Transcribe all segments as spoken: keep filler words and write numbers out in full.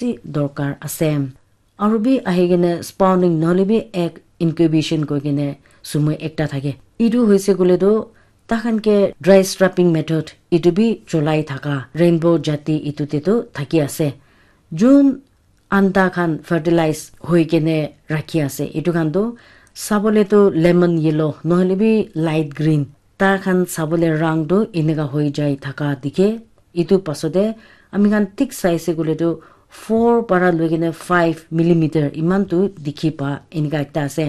bishi dorkar ase. Aru bi ahi kene spawning nohole bi egg incubation koi kene sumoi ekta thake. Etu hoise koile tu takhan ke dry strapping method etu bi cholai thaka rainbow jati etu te tu thaki ase. Jun anda khan fertilize hoi kene rakhi ase. Etu khan tu sabole tu lemon yellow nohole bi light green. Ta khan sabole rang tu eneka hoi jai thaka dikhe. Etu pasode ami khan thik saise koile tu four para loi kene five millimeter eman tu dikhi pa eneka ekta ase.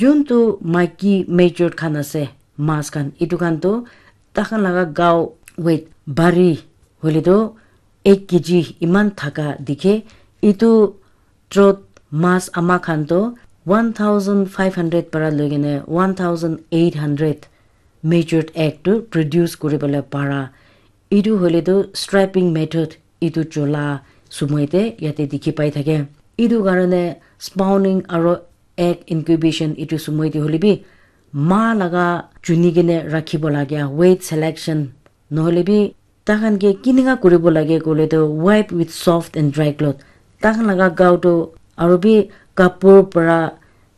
Jun tu maiki mature khan ase, mas khan, etu khan tu takhan laga gao weight bari hoile tu ek K G eman thaka dikhe. Etu trot mas ama khan tu one thousand five hundred para loi kene one thousand eight hundred matured egg tu produce kuri bole para. Etu hoile tu strapping method etu chola sumoi te yate dikhi pai thake. Etu karone spawning aro egg incubation etu sumoi te hoile bi ma laga chuni kene rakhibo lagia weight selection nohole bi takhan ke kinika kuribo lage koile tu wipe with soft and dry cloth. Takhan laga gao tu aro bi kapur para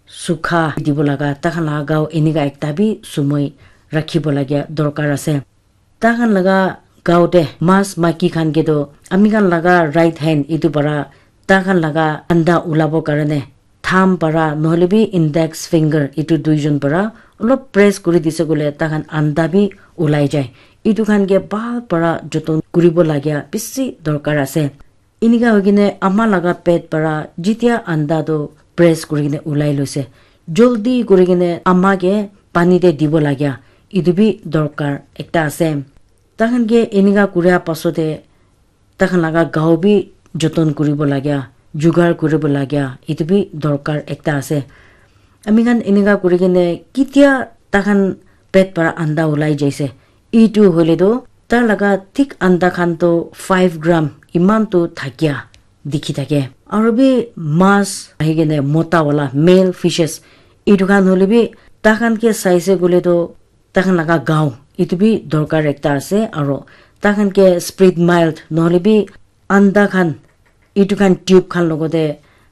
sukha dibo laga takhan laga gao enika ekta bi sumoi rakhibo lagia dorkar ase. Takhan laga gao te mas maiki khan ke tu ami khan laga right hand etu para takhan laga anda ulabo karone thumb para nohole bi index finger etu duijon para olop press kuri dise koile takhan anda bi ulai jai. Etu khan ke bhal para joton kuribo lagia bishi dorkar ase. Enika hoi kene ama laga pet para jitia anda tu press kuri kene ulai loise, joldi kuri kene ama ke pani te dibo lagia etu bi dorkar ekta ase. Takhan ke enika kuria pasode takhan laga gao bi joton kuribo lagia, jugar kuribo lagia etu bi dorkar ekta ase. Ami khan enika kuri kene kitia takhan pet para anda ulai jaise, etu hoile tu tar laga thik anda khan tu five gram eman tu thakia dikhi thake. Aro bi mas ahi kene mota wala male fishes etu khan hoile bi takhan ke saise koile tu takhan laga gao etu bi dorkar ekta ase. Aro takhan ke split mild nohole bi anda khan etu khan tube khan logote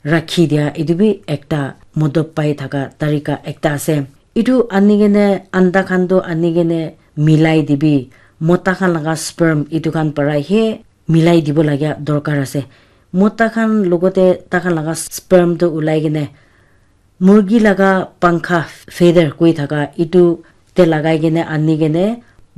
rakhi dia etu bi ekta modop pai thaka tarika ekta ase. Etu ani kene anda khan tu ani kene milai dibi, mota khan laga sperm etu khan para he milai dibo lagia dorkar ase. Mota khan logote takhan laga sperm tu ulai kene murgi laga pankha feather koi thaka etu te lagai kene ani kene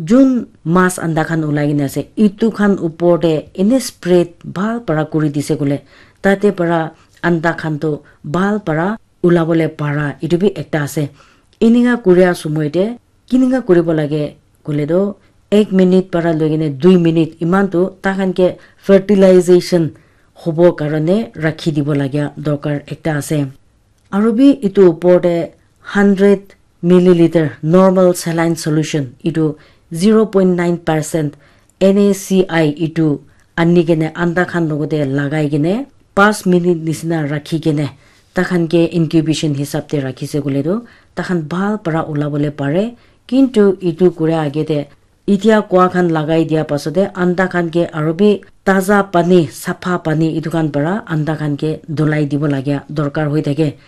jun mas anda khan ulai kene ase etu khan upor te ene spread bhal para kuri dise koile tate para anda khan tu bhal para ulabole para etu bi ekta ase. Enika kuria sumoi te kinika kuribo lage koile tu ek minute para loi kene dui minute eman tu takhan ke fertilization hobo karone rakhi dibo lagia dorkar ekta ase. Aro bi etu upor te hundred milliliter normal saline solution etu zero point nine percent N A C I etu ani kene anda khan logote lagai kene pas minute nisina rakhi kene takhan ke incubation hisab te rakhise koile tu takhan bhal para ulabole pare. Kintu etu kura age te etia kua khan lagai dia pasate anda khan ke aro bi taza pani, sapha pani etu khan para anda khan ke dhulai dibo lagia dorkar hoi thake.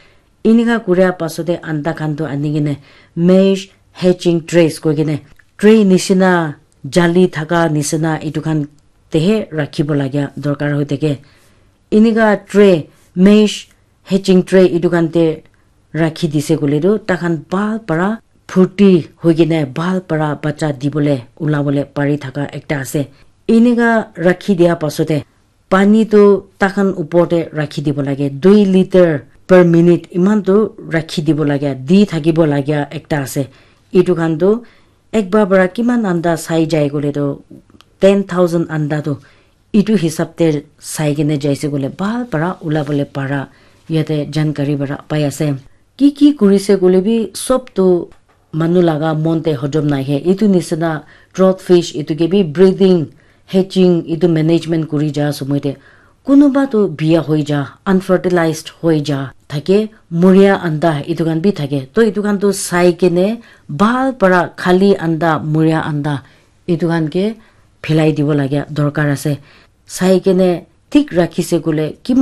Enika kuria pasate anda khan tu ani kene mesh hatching trays koi kene tray nisina jali thaka nisina etu khan tehe rakhibo lagia dorkar hoi thake. Enika tray mesh hatching tray etu khan te rakhi dise koile tu takhan bhal para phurti hoi kene bhal para bacha dibole ulabole pari thaka ekta ase. Enika rakhi dia pasate pani tu takhan upor te rakhi dibo lage dui liter per minute eman tu rakhi dibo lage di thakibo lagia ekta ase. Etu khan tu ekbar para kiman anda sai jai koile tu ten thousand anda tu etu hisab te sai kene jaise koile bhal para ulabole para yate jankari para pai ase. Ki ki kurise koile bi sob tu manu laga mon te hojom nahe. Etu nisina trout fish etu ke bi breeding, hatching etu management kuri ja somoi te kunuba tu biya hoi ja, unfertilized hoi ja thake, muria anda etu khan bi thake. To etu khan tu sai kene bhal para khali anda, muria anda etu khan ke philai dibo lagia dorkar ase. Sai kene thik rakhise koile kiman